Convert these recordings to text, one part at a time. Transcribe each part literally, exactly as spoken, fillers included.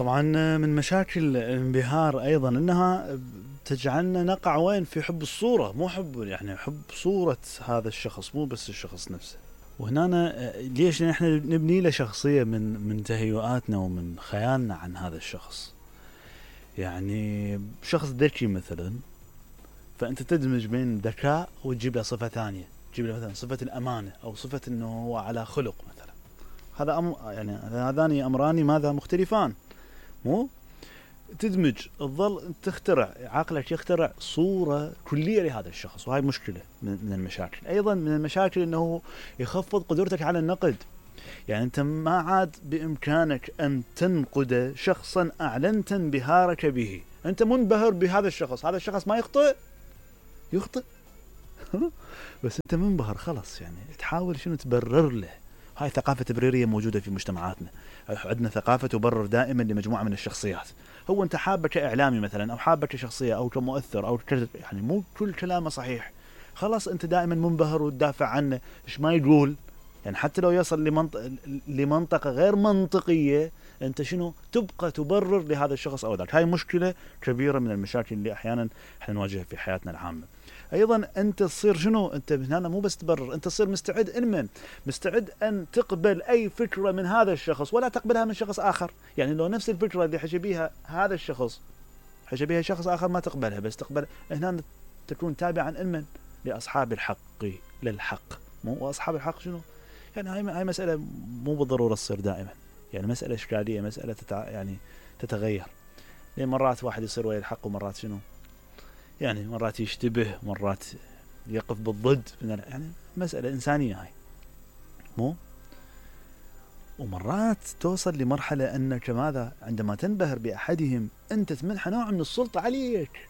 طبعا من مشاكل الانبهار ايضا انها تجعلنا نقع وين في حب الصورة، مو حب يعني حب صورة هذا الشخص مو بس الشخص نفسه. وهنا ليش احنا نبني له شخصية من من تهيؤاتنا ومن خيالنا عن هذا الشخص. يعني شخص ذكي مثلا، فانت تدمج بين ذكاء وتجيب له صفة ثانية، تجيب له مثلا صفة الامانة او صفة انه هو على خلق مثلا. هذا أم يعني هذان امران ماذا مختلفان، مو تدمج تظل تخترع عقلك يخترع صورة كلية لهذا الشخص، وهاي مشكلة من المشاكل. أيضا من المشاكل أنه يخفض قدرتك على النقد. يعني أنت ما عاد بإمكانك أن تنقد شخصا أعلنت انبهارك به، أنت منبهر بهذا الشخص، هذا الشخص ما يخطئ يخطئ بس أنت منبهر خلاص، يعني تحاول شنو تبرر له. هاي ثقافة تبريرية موجودة في مجتمعاتنا، عندنا ثقافة تبرر دائما لمجموعة من الشخصيات. هو أنت حابة كإعلامي مثلا، أو حابة كشخصية أو كمؤثر أو ك... يعني مو كل كلامه صحيح، خلاص أنت دائما منبهر وتدافع عنه. إيش ما يقول يعني حتى لو يصل لمنطقة لمنطقة غير منطقية، أنت شنو تبقى تبرر لهذا الشخص أو ذاك. هاي مشكلة كبيرة من المشاكل اللي أحيانا احنا نواجهها في حياتنا العامة. ايضا انت تصير شنو، انت هنا مو بس تبرر، انت تصير مستعد انمن مستعد ان تقبل اي فكرة من هذا الشخص ولا تقبلها من شخص اخر. يعني لو نفس الفكرة اللي حكى بيها هذا الشخص حكى بيها شخص اخر ما تقبلها، بس تقبل هنا تكون تابعا انمن لاصحاب الحق للحق. مو واصحاب الحق شنو يعني، هاي هاي مسألة مو بالضرورة تصير دائما، يعني مسألة اشكالية، مسألة تتع... يعني تتغير. لأن مرات واحد يصير ويا الحق ومرات شنو يعني مرات يشتبه، مرات يقف بالضد، يعني مسألة إنسانية هاي مو. ومرات توصل لمرحلة أنك ماذا عندما تنبهر بأحدهم أنت تمنح نوع من السلطة عليك.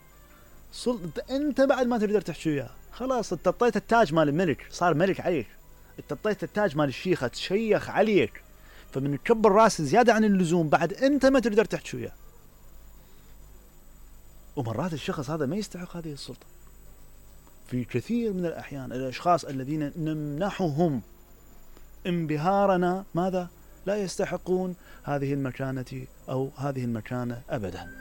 سلطة أنت بعد ما تقدر تحكي وياه، خلاص انت طيت التاج مال الملك، صار ملك عليك. انت طيت التاج مال الشيخة تشيخ عليك، فمن تكبر راس زيادة عن اللزوم بعد أنت ما تقدر تحكي وياه. ومرات الشخص هذا ما يستحق هذه السلطة. في كثير من الأحيان الأشخاص الذين نمنحهم انبهارنا ماذا لا يستحقون هذه المكانة أو هذه المكانة أبدا.